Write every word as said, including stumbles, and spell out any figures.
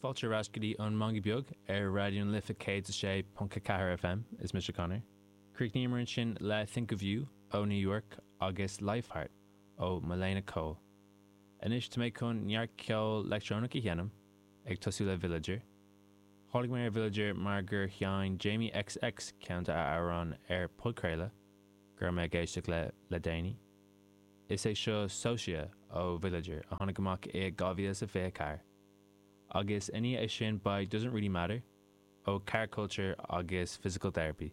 Fáilte ar ais go dtí an Meangadh Beag ar Raidió na Life céad a sé ponc a ceathair FM is mise Conor. Chríochnaíomar ansin le Think of You ó New York agus Lifeheart ó Malena Cole. Anois tá mé chun neart ceol leictreonach a sheinm ag tosú le Villager. Tháinig mé ar Villager mar gur sheinn Jamie XX ceann dá amhráin ar podchraoladh go raibh mé ag éisteacht le le déanaí. Is é seo Socia ó Villager a tháinig amach i dhá mhíle is a fiche ceathair. Agus ina dhiaidh sin beidh Doesn't Really Matter ó Car Culture agus Physical Therapy.